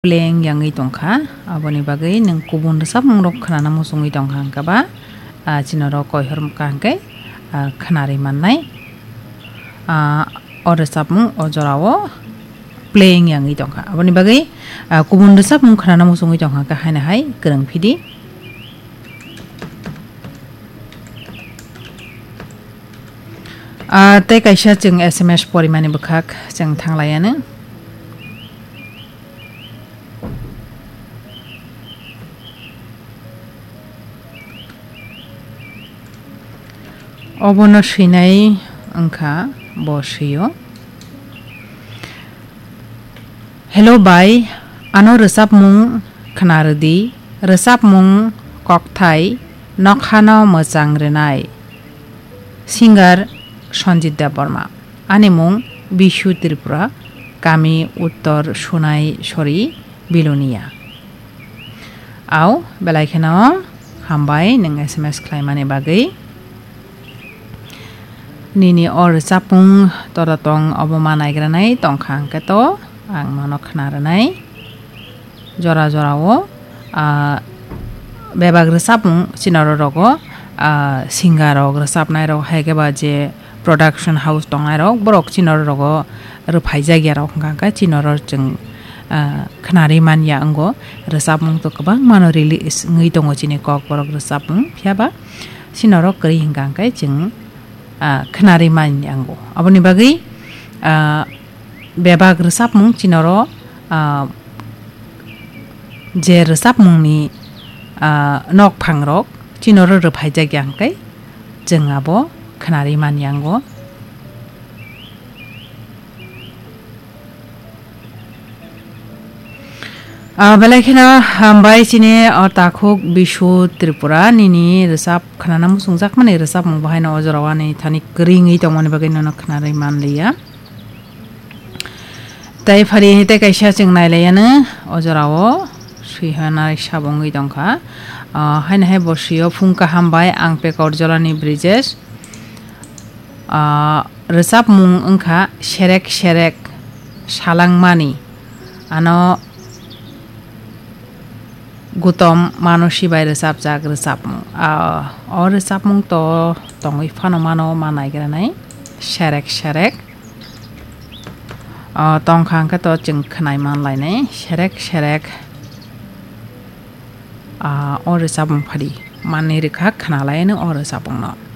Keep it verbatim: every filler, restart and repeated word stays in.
playing yangwi tongkha, aboni bagwi nwng kubun rwchapmungrok khwnana muchungwi tongkha hwnkhe ba, ah, chini oro koihor wngkha hwnkhe, ah, khwnarwi mannai. Ah, o rwchapmung o jorao playing yangwi tongkha, aboni bagwi, ah, kubun rwchapmung khwnana muchungwi tongkha hwnkhe haino hai kwrwng phidi. Ah, tei kaisa chwng S M S porimani bwkhak chwng thanglaianw. Obono swinai wngkha bo swio. Hello bai, ano rwchapmung khna rwdi, rwchapmung kokthai nokhano mwchang rwnai. Singer Sanjit Debbarma. Ani mung Bishu Tripura, kami Uttor Sunai Sori, Bilonia. Au, belai kheno hambai nwng S M S khlaimani bagwi. Nini o rwchapmung toro tong obo ma naigranai tongkha hwnkhe to ang nono khna rwnai. Jora jorao, ah, bebak rwchapmung chini oro rogo, ah, singer rok rwchapnai rok hai khe ba je production house tongnai rok borok chini oro rogo rwphaijak ya rok hwnkha hwnkhe chini oro chwng, ah, khwnarwi man ya wngo. Rwchapmung to kwbangma no release wngwi tongo chini kokborok rwchapmung, phiya ba chini oro kwrwi hwnkha hwnkhe chwng, ah, khwnarwi man ya wngo. Aboni bagwi, ah, bebak rwchapmung chini oro, ah, je rwchapmungni, ah, nokphangrok chini oro rwphaijak ya hwnkhe chwng abo khwnarwi man ya wngo. Ah, belai kheno hambai chini o takhuk Bishu Tripura nini rwchap khwnana muchungjakmani rwchapmung bo haino o jorao ani thani kwrwi wngwi tongmani bagwi nono khwnarwi man liya. Tai phari tei kaisa chwng nailaianw o jorao swihanai sabo wngwi tongkha. Ah, haino hai bo swio phung kaham bai ang Pekor Jolani Brijesh. Ah, rwchapmung wngkha Serek Serek Salangmani. Ano Gutom Manosi bai rwchapjak rwchapmung. Ah, o rwchapmung to tongwi phano mano ma naigranai. Serek Serek. Ah, tongkha hwnkhe to chwng khwnai man lainai. Serek Serek. Ah, o rwchapmung phari manwi rwkha khna lainw o rwchapmungno.